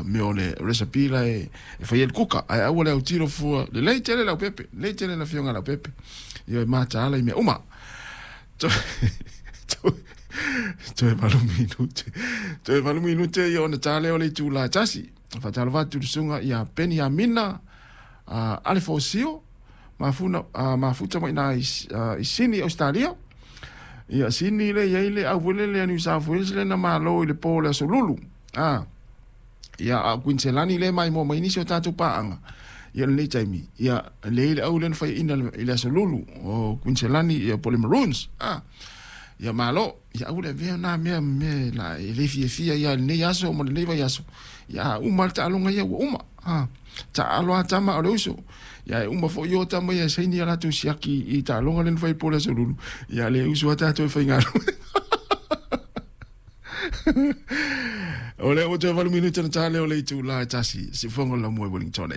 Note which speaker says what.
Speaker 1: mea o le recipe la e fai ai le kuka. Ae aua le autilo fua, lelei tele Leaupepe, lelei tele le afioga a Leaupepe. Ia e mataala i mea uma. Toe 8 minute. Toe 8 minute ia ona ta lea o le itula e 1. Faatalofa atu i le susuga ia Peniamina Alefosio, mafuta mai ina i Sini, Australia. Ia Sini le i ai le au foi lele a New South Wales le na malo i le po o le aso Lulu. Ia a o Queensland le maimoa mai nisi o tatou paaga. Ia lenei taimi, ia le i le au lea na faiaina i le aso Lulu o Queensland ia po o le Maroons. Ia malo, ia aua le avea na mea me la e le fiafia ia lenei aso ma lenei vaiaso. Ia a uma le taaloga ia ua uma. Taalo a tama o le uso. Ia e uma foi o tama ia saini a latou siaki i taaloga lea na fai po o le aso Lulu. Ia le uso a tatou e faigaluega. O lea ua toe 8 minute ona ta lea o le itula e 1. Siufofoga o le Laumua i Wellington.